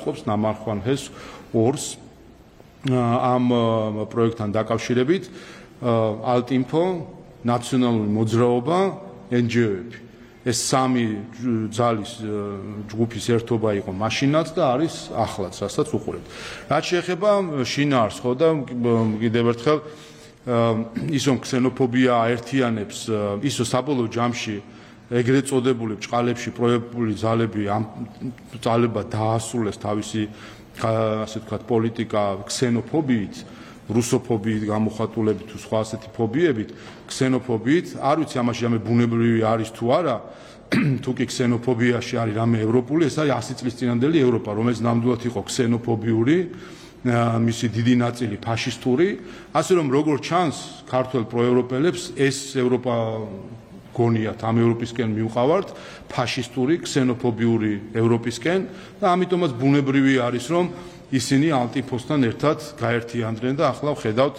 განსაზღვრავს ნამარხვანჰეს ორს ამ პროექტთან დაკავშირებით ალტინფო, ნაციონალური მოძრაობა, NGO-ები. ეს სამი ძალის ჯგუფის ერთობა იყო მაშინაც და არის ახლაც, რასაც უყურებთ. რაც შეეხება შინაარს, ხო და კიდევ ერთხელ ისო ქსენოფობია აერთიანებს, ისო საბოლოო ჯამში ეგრეთ წოდებული ბჭყალებში პროექტული ძალები ამ ძალებად დაასრულეს თავისი ასე ვთქვათ პოლიტიკა ქსენოფობიით, რუსოფობიით გამოხატულებით თუ სხვა ასეთი ფობიებით, ქსენოფობიით, არ ვიცი ამაში რამე ბუნებრივი არის თუ არა, თუ კი ქსენოფობიაში არის რამე ევროპული, ეს არის 100 წლის წინანდელი ევროპა, რომელიც ნამდვილად იყო ქსენოფობიური, მისი დიდი ნაწილი ფაშისტური, ასე რომ როგორც ჩანს ქართველ პროევროპელებს ეს ევროპა გონიათ ამ ევროპისკენ მივყავართ ფაშისტური, ქსენოფობიური ევროპისკენ და ამიტომაც ბუნებრივი არის რომ ისინი ალტინფოსთან ერთად გაერთიანდნენ და ახლა ვხედავთ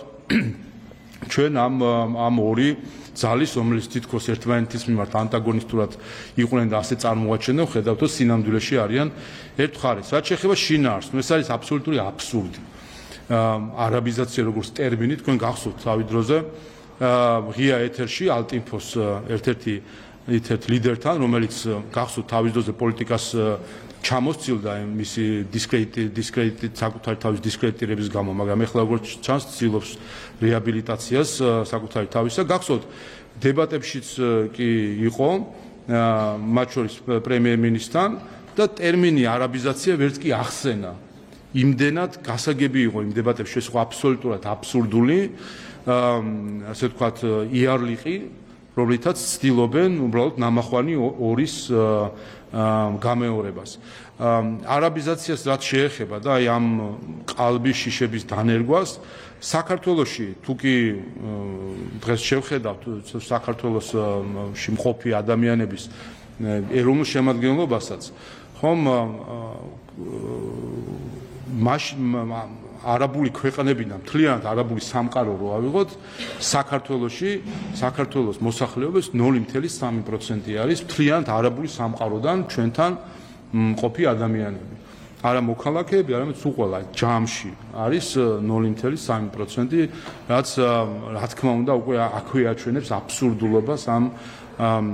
ჩვენ ამ ორი ძალის, რომელიც თითქოს ერთმანეთის მიმართ ანტაგონისტურად იყვნენ და ასე წარმოაჩენენ, ვხედავთ რომ სინამდვილეში არიან ერთ მხარეს. რაც შეეხება შინაარს, ეს არის აბსოლუტური აბსურდი. არაბიზაცია როგორც ტერმინი, თქვენ გახსოვთ თავი დროზე ღია ეთერში ალტინფოს ერთ-ერთი ლიდერთან, რომელიც გახსოვთ თავის დროზე პოლიტიკას ჩამოსცილდა მისი დისკრედიტით საკუთარი თავის დისკრედიტირების გამო, მაგრამ ეხლა როგორც ჩანს ცდილობს რეაბილიტაციას საკუთარი თავისა. გახსოვთ დებატებშიც კი იყო მათ შორის პრემიერ-მინისტრთან და ტერმინი არაბიზაცია ვერც კი ახსენა. იმდენად გასაგები იყო იმ დებატებში, ეს იყო აბსოლუტურად აბსურდული, ასე ვთქვათ იარლიყი, რომლითაც ცდილობენ უბრალოდ ნამახვანი ორის გამეორებას. არაბიზაციას რაც შეეხება და აი ამ ყალბის შიშების დანერგვას, საქართველოში თუ კი დღეს შევხედავთ საქართველოში მყოფი ადამიანების ეროვნულ შემადგენლობასაც, ხომ არაბული ქვეყნებიდან მთლიანად არაბული სამყარო რო ავიღოთ, საქართველოს მოსახლეობის 0.3% არის მთლიანად არაბული სამყაროდან ჩვენთან მყოფი ადამიანები. არა მოქალაქეები, არამედ სულ ყველა ჯამში არის 0.3%, რაც რა თქმა უნდა უკვე აქვე აჩვენებს აბსურდულობას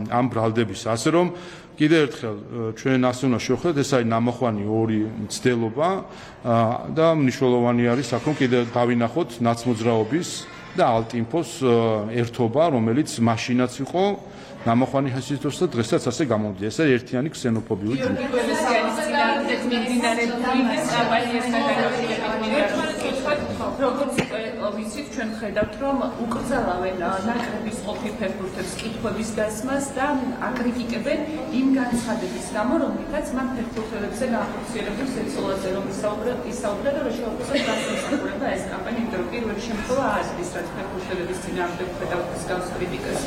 ამ ბრალდების. ასე რომ კიდევ ერთხელ ჩვენ ასე უნდა შევხედოთ, ეს არის ნამახვანი ორი მცდელობა და მნიშვნელოვანი არის აქ რომ კიდევ დავინახოთ ნაცმოძრაობის და ალტინფოს ერთობა, რომელიც მაშინაც იყო ნამახვანი ჰესის დროს და დღესაც ასე გამომდის. ეს არის ერთიანი ქსენოფობიური ჯგუფი. როგორც ვიცით, ჩვენ ხედავთ, რომ უკრძალავენ ნაკრების ყოფი ფეხბურთელს კითხვების დასმას და აკრიტიკებენ იმ განცხადების გამო, რომლითაც მან ფეხბურთელებზე განხორციელებულ ზეწოლაზე რომ ისაუბრა და შეუძლია განსაკუთრება ეს კამპანია, იმიტომ რომ პირველ შემთხვევა აზრის, რაც ფეხბურთელების წინააღმდეგ ხედავთ ეს გავს კრიტიკას.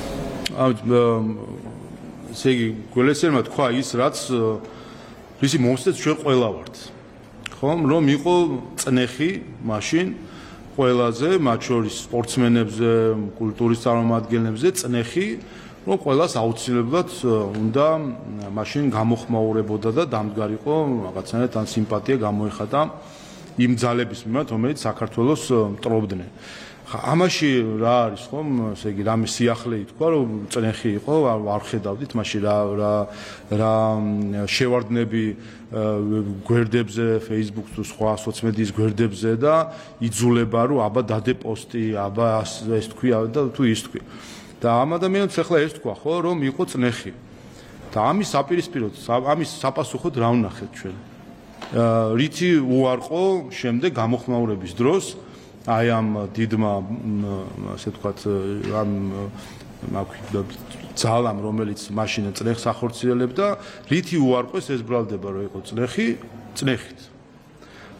ესე იგი, გველესერმა თქვა ის, რაც ვისი მომსწრეთ ჩვენ ყველა ვართ. ხომ, რომ იყო წნეხი მაშინ ყველაზე, მათ შორის სპორტსმენებზე, კულტურის წარმომადგენლებზე წნეხი, რომ ყველას აუცილებლად უნდა მაშინ გამოხმაურებოდა და დამდგარიყო რაღაცნაირად ან სიმპათია გამოეხატა იმ ძალების მიმართ, რომელიც საქართველოს მტრობდნენ. ამაში რა არის ხომ, ესე იგი რამე სიახლე ითქვა, რომ წნეხი იყო, არ ხედავდით მაშინ რა შევარდნები გვერდებზე, Facebook თუ სხვა სოციმედიის გვერდებზე და იძულება რომ აბა დადე პოსტი, აბა ეს თქვი და თუ ის თქვი. და ამ ადამიანებს ახლა ეს თქვა ხო, რომ იყო წნეხი. და ამის საპირისპიროდ, ამის საპასუხოდ რა ვნახეთ ჩვენ? რითი უარყო შემდეგ გამოხმაურების დროს აი ამ დიდმა ასე ვთქვათ ამ ძალამ, რომელიც მაშინ წნეხს ახორციელებდა, რითი უარყვეს ეს ბრალდება, რომ იყო წნეხით.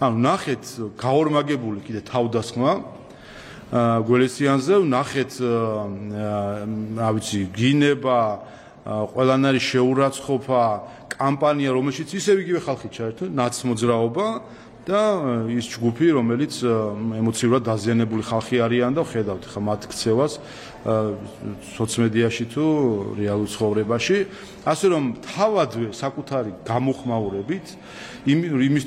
ანუ ნახეთ გაორმაგებული კიდე თავდასხმა გველესიანზე, ნახეთ რა ვიცი, გინება, ყველანაირი შეურაცხყოფა, კამპანია, რომელშიც ისევ იგივე ხალხი ჩაერთო, ნაცმოძრაობა და ის ჯგუფი, რომელიც ემოციურად დაზიანებული ხალხი არიან და ხედავთ ხა მათ ქცევას სოციმედიაში თუ რეალურ ცხოვრებაში. ასე რომ თავადვე საკუთარი გამოხმაურებით იმის